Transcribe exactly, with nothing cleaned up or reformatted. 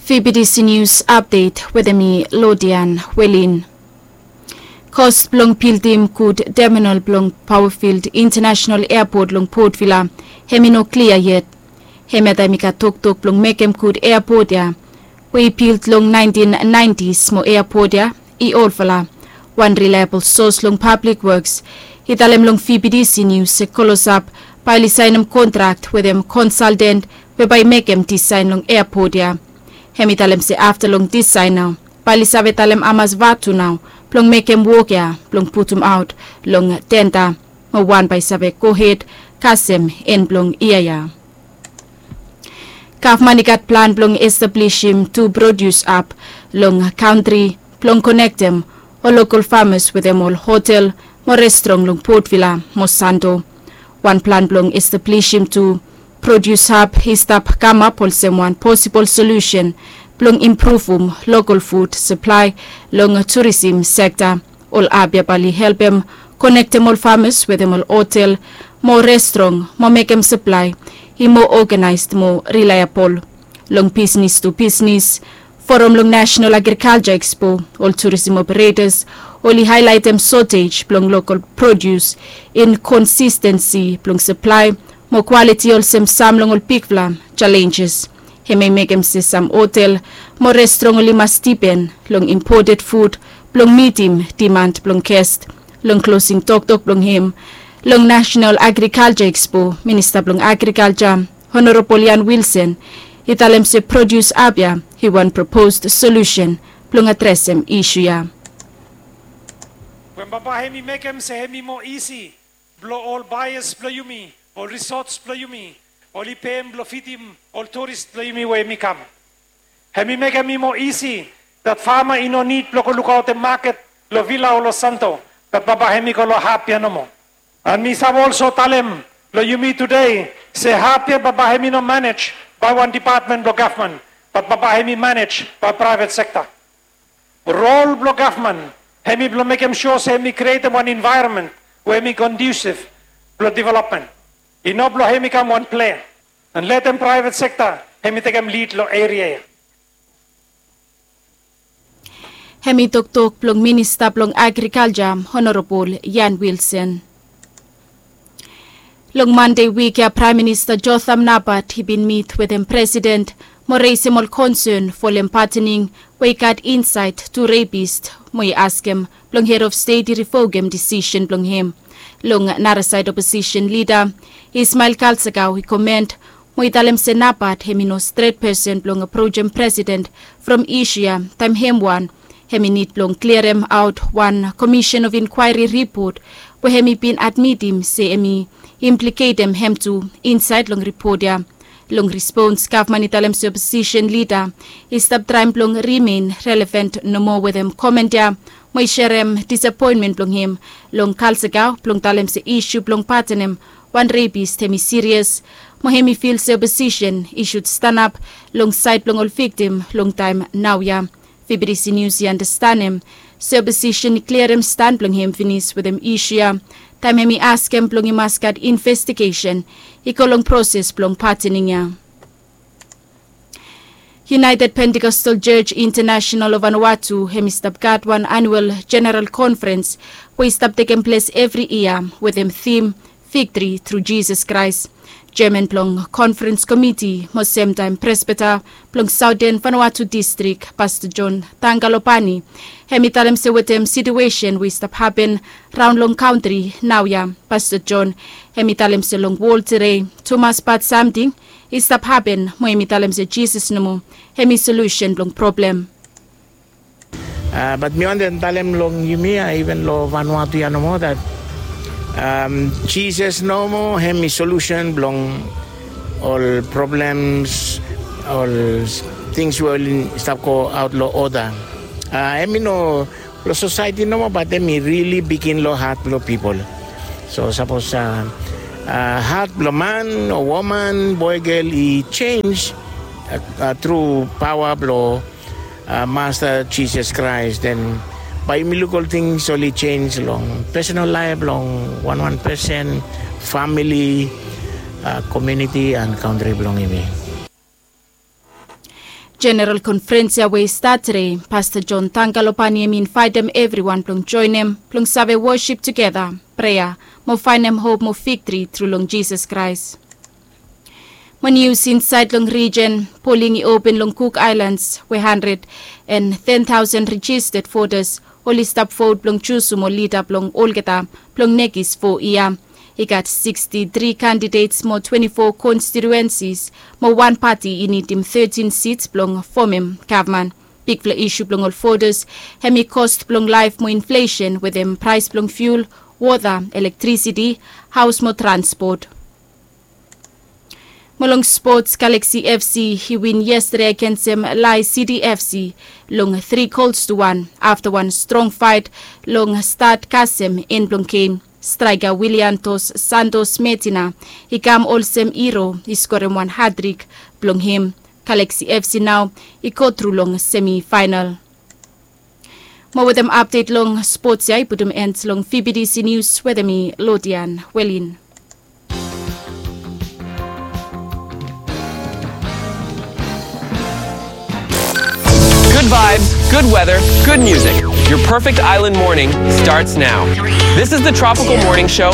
Fibidisi nius apdet wetem mi Lodian Welin. Kos blong bildim gud teminal blong Powerfield International Airport long Port Vila hem i no klia yet. Hem ya taem i gat toktok blong mekem gud airport ya we i bild long naentin naentis mo airport ya i olfala. Wan reliable sos long Public Works i talem long Fibidisi nius se Kolosap bae oli saenem kontrak wetem konsalten we bae i mekem disaen long airport ya. Hem i talem se afta long disaen nao bae oli save talem hamas vatu nao blong mekem wok ya blong putumaot long tenda mo wan bae i save gohed kasem en blong yia ya. Gavman i gat plan blong establisim tu produs hab long kantri blong konektem ol lokol famas wetem ol hotel mo restrong long Port Vila mo Santo. Wan plan blong establisim tu produs hab i stap kamap olsem wan posibol solusen blong impruvum lokol fud saplae long turisim sekta. Ol hab ya bae oli helpem konektem ol famas wetem ol hotel mo restrong mo mekem saplae i moa oganaes mo rilaebol. Long bisnis tu bisnis foram long Nasenal Agrikalja Ekspo, ol turisim operetas oli haelaetem sotej blong lokol produs, inkonsistensi blong saplae mo kwaliti olsem sam long ol bigfala jalenjes. Hem i mekem se sam hotel mo restrong oli mas dipen long impoted fud blong mitim diman blong gest. Long klosing toktok blong hem long Nasenal Agrikalja Ekspo, Minista blong Agrikalja Honorabol Ian Wilson i talem se produs hab ya i wan proposed solusen blong adresem isu ya. We bambae hem i mekem se hem i moa isi blong ol baeas blong yumi, ol risots blong yumi, oli pem blong fidim ol turis blong yumi we hem i kam. Hem i mekem i moa isi dat fama i no nid blong go lukaotem maket long Vila o long Santo, bat bambae hem i go long hab ya nomo. An mi save olso talem long yumi tude se hab ya bambae hem i no manej bae wan depatmen blong gavman, bat bambae hem i manej bae praevet sekta. Rol blong gavman hem i blong mekem sua se hem i krietem wan envaeronmen we hem i kondiusif blong developmen. I no blong hem i kam wan plea an letem praevet sekta hem i tekem lid long eria ya. Hem i toktok blong Minista blong Agrikalja, Honorabol Ian Wilson. Long Mande wik ya Praem Minista Jotham Napat i bin mit wetem Presiden mo resem ol konsen folem patening we i gat insaed tu repis mo i askem blong hed of stet i rivokem disisen blong hem. Long narasaed oposisen lida Ismael Kalsakau i komen mo i talem se Napat hem i no stret pesen blong aprojem Presiden from isu ya taem hem wan hem i nid blong kliaremaot wan komisen of inkwaeri ripot we hem i bin admitim se hem i impliketem hem tu insaed long ripot ya. Long rispons gavman i talem se oposisen lida i stap traem blong rimen relevan nomo wetem komen ya mo i serem disapoenmen blong hem long Kalsakau blong talem se isu blong patenem wan repis hem i sirias mo hem i fil se oposisen i sud stanap long saed blong ol viktim long taem naoia. Fibidisi Nius i andastanem se oposisen i kliarem stan blong hem finis wetem isu ya taem hem i askem blong i mas gat investigesen i go long proses blong patening ya. United Pentecostal Church International of Vanuatu hem i stap gat wan anual jeneral konferens we i stap tekem ples evri yia wetem tim Victory through Jesus Christ. Jeaman blong konferens komiti mo semtaem presbita blong Saoten Vanuatu distrik, Pasta John Tangalopani, hem i talem se wetem situesen we i stap hapen raon long kantri naoia, Pasta John hem i talem se long wol tede tumas bad samting i stap hapen mo hem i talem se Jisas nomo hem i solusen blong problem. Bat mi wantem talem long yumi ya, iven long Vanuatu ya nomo, dat Jisas nomo hem i solusen blong ol problems, ol tings we oli stap go aot long oda. Hem i no long sosaeti nomo, bat hem i rili bigin long hat blong pipol. So sapos hat blong man o woman, boe, gel i jenj tru paoa blong Masta Jisas Kraes, den bae yumi luk ol tings oli jenj long pesonal laef blong wanwan pesen, famili, komuniti and kantri blong yumi. Jeneral konferens ya we i stat tede, Pasta John Tangalo Panie hem i invaitem evriwan blong joenem blong save wosip tugeta, prea, mo faenem hop mo viktri tru long Jisas Kraes. Mo nius insaed long rijen, poling i open long Cook Islands we handred and ten taosen rejisted votas oli stap vot blong jusum ol lida blong olgeta blong nekis fo yia. I gat sikstitri kandidets mo twenti fo konstituensis, mo wan pati i nidim tetin sits blong fomem gavman. Bigfala isu blong ol votas hem i kost blong laef mo inflesen wetem praes blong fiul, wota, elektrisiti, haos mo transpot. Mo long spots, Galaxy FC i win yestade agensem Lae City FC long tri gols tu wan afta wan strong faet long stat kasem en blong gem. Straeka Willian Dos Santos Medina i kam olsem hiro, i skorem wan hatrik blong hem. Galaxy FC nao i go tru long semifaenal. Mo wetem apdet long spots ya i putum en long VBTC Nius wetem mi, Lodian Welin. Good vibes, good weather, good music. Your perfect island morning starts now. This is the Tropical Morning Show